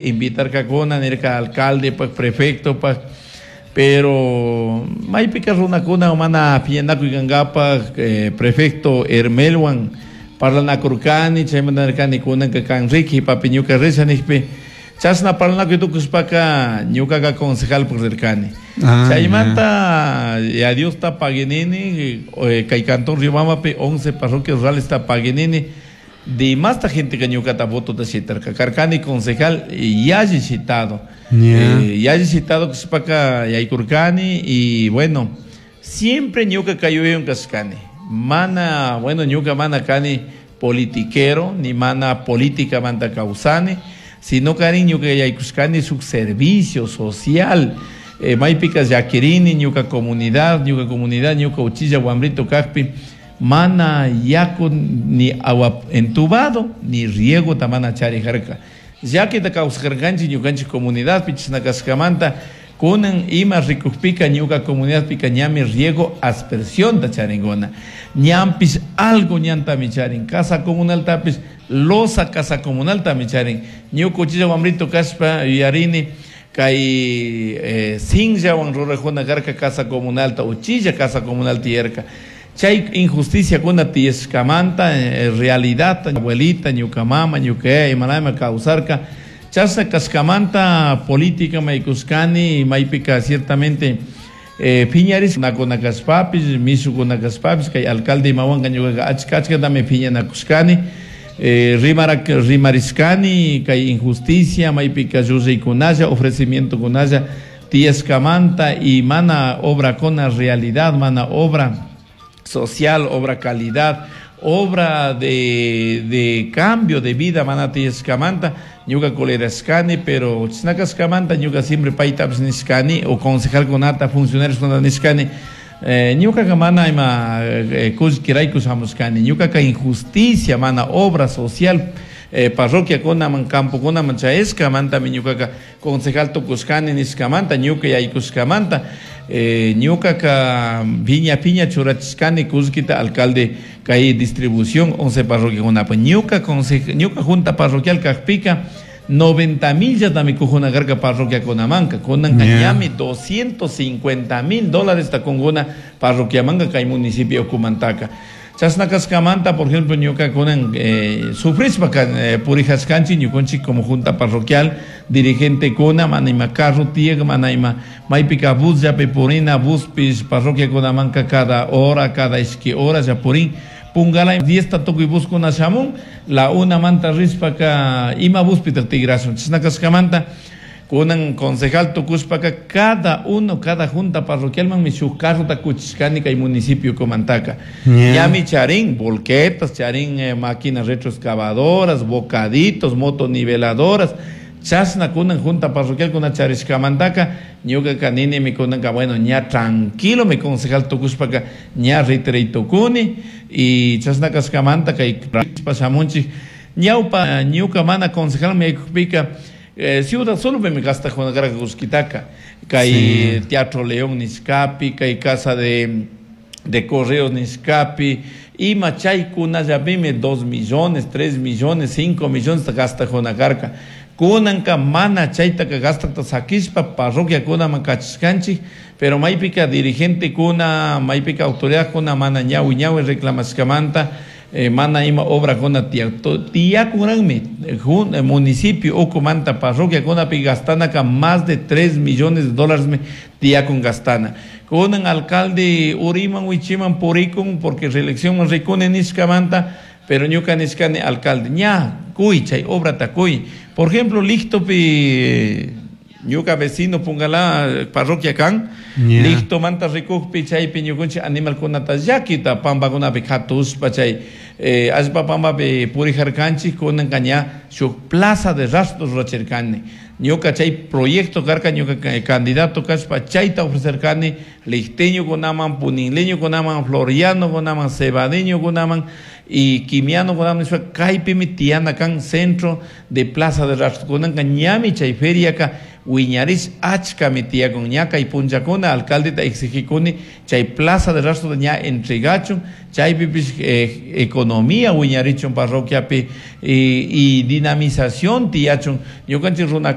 Invitarkakuna nirka alcaldepak, prefectopak, pero maypika runakuna mana piñanakuy kankapak prefecto Hermelwan parlanakurkani, chaymanta nirkani kunanka kan riki papi ñuka risha nijpi, chashna parlanakuy tukushpaka ñukaka concejalpak rirkani. Chaymanta ya Diosta paguinini, kay cantón Riobambapi 11 parroquias ruralesta paguinini, Dimasta genteka ñukata votota shitarka. Karkani concejal yalli shitado. Yalli shitado kashpaka yaykurkani y bueno, siempre ñuka kay yuyaywan kashkani. Mana, bueno, ñuka mana kani politiquero, ni mana políticamanta kawsani, sino karin ñuka yaykushkani shuk servicio social. Maypika llakirini ñuka comunidad, ñuka comunidad, ñuka uchilla wambrito kakpi, Mana yaku ni agua entubado ni riegota mana charijarca. Llaquita causarcanchik ñucanchik comunidadpi chashna cashcamanta cunan ima ricujpica ñuca comunidadpica ñami riego aspersionta charincuna. Ñanpish algo ñantami charin. Casa comunaltapish loza casa comunaltami charin. Ñuca uchilla wambrito cashpa yuyarini Kay sinllawan rurajuna karka casa comunalta, uchilla casa comunal tiyarka. Chay injusticiakuna tiyashkamanta realidadta abuelita, ñuka mama, ñuka yaya imanami kawsarka. Chashna kashkamanta política maykushkani, maypika ciertamente piñarishkuna kashpapish, mishukuna kashpapish, kay alcalde imawanka ñukaka achka achkatami piñanakushkani. Rimarak rimarishkani kay injusticia maypika llullaykunalla, ofrecimientokunalla tiyashkamanta y mana obrakuna realidad, mana obra social, obra calidad, obra de, de cambio de vida mana tiyashkamanta ñuka colerashkani, pero chashna kashkamanta ñuka siempre paytapish nishkani o concejalkunata, funcionarioskunata nishkani, Ñucaca mana ima cullquiraicu shamushcani. Ñucaca injusticia, mana obra social parroquiacunaman, campocunaman chayashcamantami ñucaca concejal tucushcani nishcamanta, ñuca yaicushcamanta ñucaca piña piña churachishcani cullquita alcalde cay distribución 11 parroquiacunapi. Ñuca ñuca junta parroquial cajpica 90 millatami cujuna carca parroquiacunamanca. Cunanca ñami 250 mil dolaresta cuncuna parroquiamanca cay municipio ucumantaca. Chashna cashcamanta, por ejemplo, ñuca cunan sufrishpaca purijashcanchik ñucunchik como junta parroquial, dirigentecuna, mana ima carro tiyak, mana ima maypica busllapi purina, buspish parroquiacunamanca cada hora, cada ishqui horaslla purin. Pungalay diezta tukuy buskuna shamun, la unamanta rishpaka ima buspitaj tigrashun. Chashna kashkamanta kunan concejal tukushpaka cada uno, cada junta parroquialmanmi shuk carrota kuchishkani kay municipio ukumantaka. Ñami charin volquetas, charin máquinas retroexcavadoras, bocaditos, motoniveladoras. Chashna kunan junta parroquialkuna charishkamantaka ñukaka ninimi kunanka bueno ña tranquilomi concejal tukushpaka ña ritiray tukuni y chashna kashkamanta kay shamunchik ñawpa ñuka mana concejalman yaykukpika ciudad solopimi gastajuna karka kullkitaka kay Teatro León nishkapi kay casa de de correos nishkapi ima chaykunallapimi dos millones, tres millones, cinco millonesta gastajuna karka. Kunanka mana chaytaka gastakta sakishpa parroquiakunaman kachishkanchik, pero maypika dirigentekuna, maypika autoridadkuna mana ñawi ñawi reclamashkamanta mana ima obrakuna tiyak. Tiyakunranmi municipio ukumanta parroquiakunapi gastanaka más de tres millones de dólaresmi tiyakun gastana. Kunan alcalde uriman wichiman purikun porque reeleccionman rikuni nishkamanta, pero ñuka nishkani alcalde ña cuy chay obrata cuy. Por ejemplo, Lictopi ñuka vecino Pungalá parroquia kan, Lictomanta rikukpi chaypi ñukunchik animalkunata llakita pampakunapi katushpa chay allpa pampapi purijarkanchik kunanka ña shuk plaza de rastros rurachirkani. Ñuka chay proyecto karka ñuka candidato kashpa chayta ofrecerkani licteñokunaman, puninleñokunaman, florianokunaman, cebadeñokunaman y quimianokunaman nishpa kaypimi tiyana kan centro de plaza de rastro. Kunanka ñami chay feriaka Wiñarish achkami tiyakun. Ña kay punllakuna alcaldeta exigikuni chay plaza de rastro ña entregachun, chaypipish economía wiñarichun parroquiapi y dinamización tiyachun ñukanchik runa.